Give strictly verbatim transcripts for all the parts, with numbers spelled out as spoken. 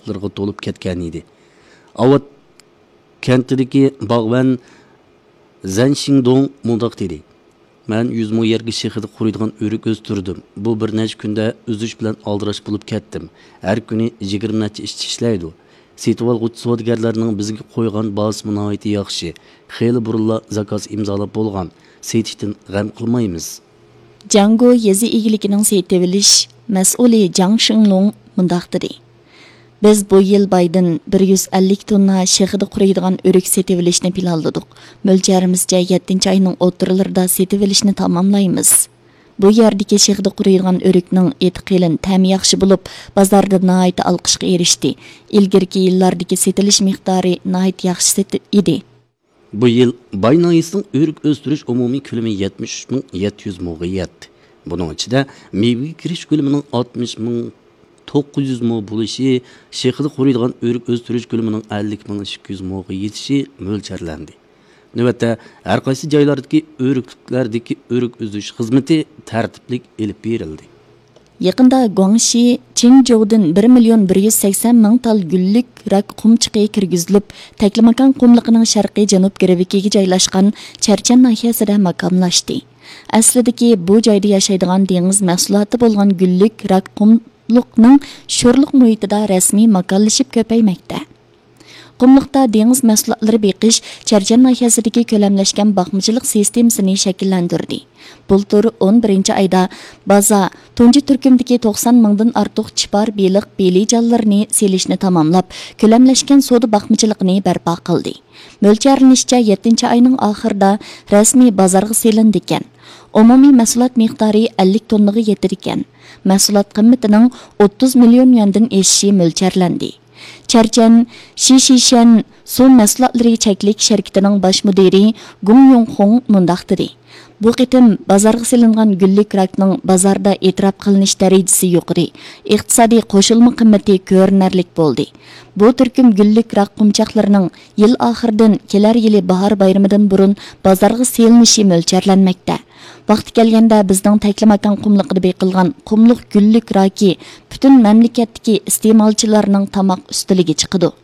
ئوتلىرىغا تولۇپ كەتكەن ئىدى. ئاۋات كەنتىدىكى باغۋەن زەن شىڭدوڭ مۇنداق دېدى: «مەن يۈز مو يەرگە شېخىدا قۇرۇيدىغان ئۆرۈك ئۆستۈردۈم. بۇ بىر نەچچە كۈندە ئۈزۈش بىلەن ئالدىراش بولۇپ كەتتىم. ھەر كۈنى يىگىرمە نەچچە ئىشچى ئىشلەيدۇ. سېتىۋالغۇچى سودىگەرلەرنىڭ بىزگە قويغان باھاسىمۇ ناھايىتى ياخشى. خېلى بۇرۇنلا زاكاز ئىمزالاپ بولغان. سېتىشتىن غەم قىلمايمىز.» جاڭگو يېزا ئىگىلىكىنىڭ سېتىۋېلىش مەسئۇلى جاڭ شىڭلۇڭ مۇنداق دېدى: «بىز بۇ يىل بايدىن بىر يۈز ئەللىك توننا شېخىدا قۇرۇيدىغان ئۆرۈك سېتىۋېلىشنى پىلانلىدۇق. مۆلچەرىمىزچە، يەتتىنچى ئاينىڭ ئوتتۇرىلىرىدا سېتىۋېلىشنى تاماملايمىز. بۇ يەردىكى شېخىدا قۇرۇيدىغان ئۆرۈكنىڭ ئېتى قېلىن، تەمى ياخشى بولۇپ، بازاردا ناھايىتى ئالقىشقا ئېرىشتى. ئىلگىرىكى يىللاردىكى سېتىلىش مىقدارى ناھايىتى ياخشى سېتىل-، ئىدى.» بۇ يىل باي ناھىيەسىنىڭ ئۆرۈك ئۆستۈرۈش ئومۇمىي كۆلىمى يەتمىش ئۈچ مىڭ يەتتە يۈز موغا يەتتى. بۇنىڭ ئىچىدە مېۋىگە كىرىش كۆلىمىنىڭ ئاتمىش مىڭ توققۇز يۈز مو بولۇشى، شېخىدا قۇرۇيدىغان ئۆرۈك ئۆستۈرۈش كۆلىمىنىڭ ئەللىك مىڭ ئىككى يۈز موغا يېتىشى مۆلچەرلەندى. نۆۋەتتە، ھەر قايسى جايلاردىكى ئۆرۈكلۈكلەردىكى ئۆرۈك ئۈزۈش خىزمىتى تەرتىپلىك ئېلىپ بېرىلدى. يېقىندا گۇاڭشى چىڭجوۋدىن بىر مىليون بىر يۈز سەكسەن مىڭ تال گۈللۈك راك قۇمچىقى كىرگۈزۈلۈپ، تەكلىماكان قۇملۇقىنىڭ شەرقىي جەنۇب گىرۋىكىگە جايلاشقان چەرچەن ناھىيەسىدە ماكانلاشتى. ئەسلىدىكى بۇ جايدا ياشايدىغان دېڭىز مەھسۇلاتى بولغان گۈللۈك راك قۇملۇقنىڭ شورلۇق مۇھىتىدا رەسمىي ماكانلىشىپ كۆپەيمەكتە. قۇملۇقتا دېڭىز مەھسۇلاتلىرى بېقىش چەرچەن ناھىيەسىدىكى كۆلەملەشكەن باقمىچىلىق سىستېمىسىنى شەكىللەندۈردى. بۇلتۇر ئون بىرىنچى ئايدا بازا تۇنجى تۈركۈمدىكى توقسان مىڭدىن ئارتۇق چىپار بېلىق بېلىجانلىرىنى سېلىشنى تاماملاپ، كۆلەملەشكەن سودا باقمىچىلىقىنى بەرپا قىلدى. مۆلچەرلىنىشىچە، يەتتىنچى ئاينىڭ ئاخىرىدا رەسمىي بازارغا سېلىنىدىكەن. ئومۇمىي مەھسۇلات مىقدارى ئەللىك توننىغا يېتىدىكەن. مەھسۇلات قىممىتىنىڭ ئوتتۇز مىليون يۈەندىن ئېشىشى مۆلچەرلەندى. چەرچەن شىشىشەن سۇ مەھسۇلاتلىرى چەكلىك شىركىتىنىڭ باش مۇدىرى گۇڭ يۇڭخۇڭ مۇنداق دېدى: «بۇ قېتىم بازارغا سېلىنغان گۈللۈك راكنىڭ بازاردا ئېتىراپ قىلىنىش دەرىجىسى يۇقىرى، ئىقتىسادىي قوشۇلما قىممىتى كۆرۈنەرلىك بولدى. بۇ تۈركۈم گۈللۈك راك قۇمچاقلىرىنىڭ يىل ئاخىرىدىن كېلەر يىلى باھار بايرىمىدىن بۇرۇن بازارغا سېلىنىشى مۆلچەرلەنمەكتە. ۋاقتى كەلگەندە بىزنىڭ تەكلىماكان قۇملۇقىدا بېقىلغان قۇملۇق گۈللۈك راكى پۈتۈن مەملىكەتتىكى ئىستېمالچىلارنىڭ تاماق ئۈستىلىگە چىقىدۇ.»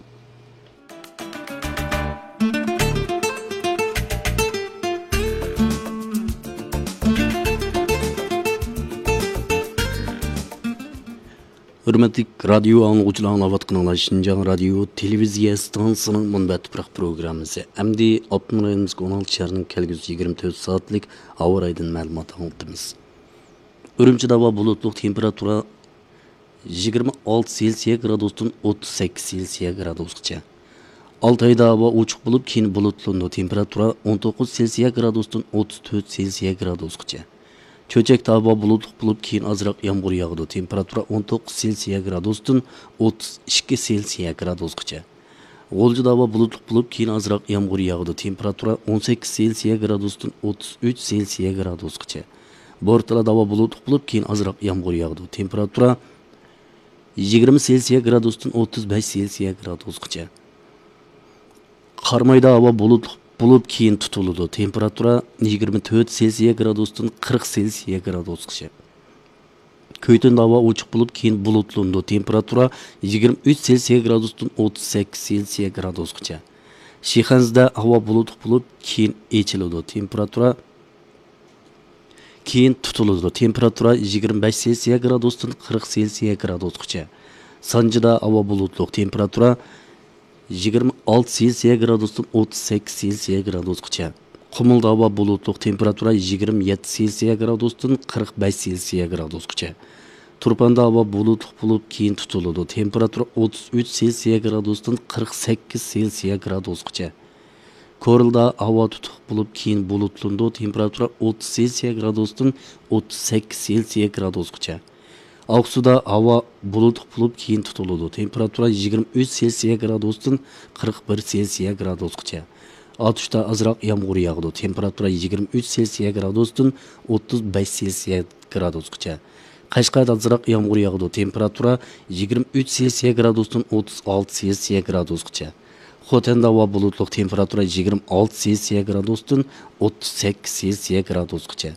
ھۆرمەتلىك رادىيو ئاڭلىغۇچىلار، ئاڭلاۋاتقىنىڭلار شىنجاڭ رادىيو تېلېۋىزىيە ئىستانسىسىنىڭ مۇنبەت تۇپراق پروگراممىسى. ئەمدى ئاپتونوم رايونىمىزدىكى ئون ئالتە شەھەرنىڭ كەلگۈسى يىگىرمە تۆت سائەتلىك ھاۋا رايىدىن مەلۇمات ئاڭلىتىمىز. ئۈرۈمچىدە ھاۋا بۇلۇتلۇق، تېمپېراتۇرا يىگىرمە ئالتە سېلسىيە گرادۇستىن ئوتتۇز سەككىز سېلسىيە گرادۇسقىچە. ئالتايدا ھاۋا ئوچۇق بولۇپ، كېيىن بۇلۇتلىنىدۇ، تېمپېراتۇرا ئون توققۇز سېلسىيە گرادۇستىن ئوتتۇز تۆت سېلسىيە گرادۇسقىچە. چۆچەكتە ھاۋا بۇلۇتلۇق بولۇپ، كېيىن ئازراق يامغۇر ياغىدۇ، تېمپېراتۇرا ئون توققۇز سېلسىيە گرادۇستىن ئوتتۇز ئىككى سېلسىيە گرادۇسقىچە. غۇلجىدا ھاۋا بۇلۇتلۇق بولۇپ، كېيىن ئازراق يامغۇر ياغىدۇ، تېمپېراتۇرا ئون سەككىز سېلسىيە گرادۇستىن ئوتتۇز ئۈچ سېلسىيە گرادۇسقىچە. بورتالادا ھاۋا بۇلۇتلۇق بولۇپ، كېيىن ئازراق يامغۇر ياغىدۇ، تېمپېراتۇرا يىگىرمە سېلسىيە گرادۇستىن ئوتتۇز بەش سېلسىيە گرادۇسقىچە. قارامايدا ھاۋا بۇلۇتلۇق بولۇپ، كېيىن تۇتۇلىدۇ، تېمپېراتۇرا يىگىرمە تۆت سېلسىيە گرادۇستىن قىرىق سېلسىيە گرادۇسقىچە. كۆيتۈندە ھاۋا ئوچۇق بولۇپ، كېيىن بۇلۇتلىنىدۇ، تېمپېراتۇرا يىگىرمە ئۈچ سېلسىيە گرادۇستىن ئوتتۇز سەككىز سېلسىيە گرادۇسقىچە. شىخەنزىدە ھاۋا بۇلۇتلۇق بولۇپ، كېيىن ئېچىلىدۇ، تېمپېراتۇرا كېيىن تۇتۇلىدۇ، تېمپېراتۇرا يىگىرمە بەش سېلسىيە گرادۇستىن قىرىق سېلسىيە گرادۇسقىچە. سانجىدا ھاۋا بۇلۇتلۇق، تېمپېراتۇرا يىگىرمە ئالتە سېلسىيە گرادۇستىن ئوتتۇز سەككىز سېلسىيە گرادۇسقىچە. قۇمۇلدا ھاۋا بۇلۇتلۇق، تېمپېراتۇرا يىگىرمە يەتتە سېلسىيە گرادۇستىن قىرىق بەش سېلسىيە گرادۇسقىچە. تۇرپاندا ھاۋا بۇلۇتلۇق بولۇپ، كېيىن تۇتۇلىدۇ، تېمپېراتۇرا ئوتتۇز ئۈچ سېلسىيە گرادۇستىن قىرىق سەككىز سېلسىيە گرادۇسقىچە. كورلىدا ھاۋا تۇتۇق بولۇپ، كېيىن بۇلۇتلىنىدۇ، تېمپېراتۇرا ئوتتۇز سېلسىيە گرادۇستىن ئوتتۇز سەككىز سېلسىيە گرادۇسقىچە. ئاقسۇدا ھاۋا بۇلۇتلۇق بولۇپ، كېيىن تۇتۇلىدۇ، تېمپېراتۇرا يىگىرمە ئۈچ سېلسىيە گرادۇستىن قىرىق بىر سېلسىيە گرادۇسقىچە. ئاتۇشتا ئازراق يامغۇر ياغىدۇ، تېمپېراتۇرا يىگىرمە ئۈچ سېلسىيە گرادۇستىن ئوتتۇز بەش سېلسىيە گرادۇسقىچە. قەشقەردە ئازراق يامغۇر ياغىدۇ، تېمپېراتۇرا يىگىرمە ئۈچ سېلسىيە گرادۇستىن ئوتتۇز ئالتە سېلسىيە گرادۇسقىچە. خوتەندە ھاۋا بۇلۇتلۇق، تېمپېراتۇرا يىگىرمە ئالتە سېلسىيە گرادۇستىن ئوتتۇز سەككىز سېلسىيە گرادۇسقىچە.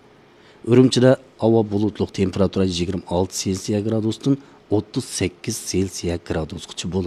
ئۈرۈمچىدە ھاۋا بۇلۇتلۇق، تېمپېراتۇرا يىگىرمە ئالتە سېلسىيە گرادۇستىن ئوتتۇز سەككىز سېلسىيە گرادۇسقىچە بولىدۇ.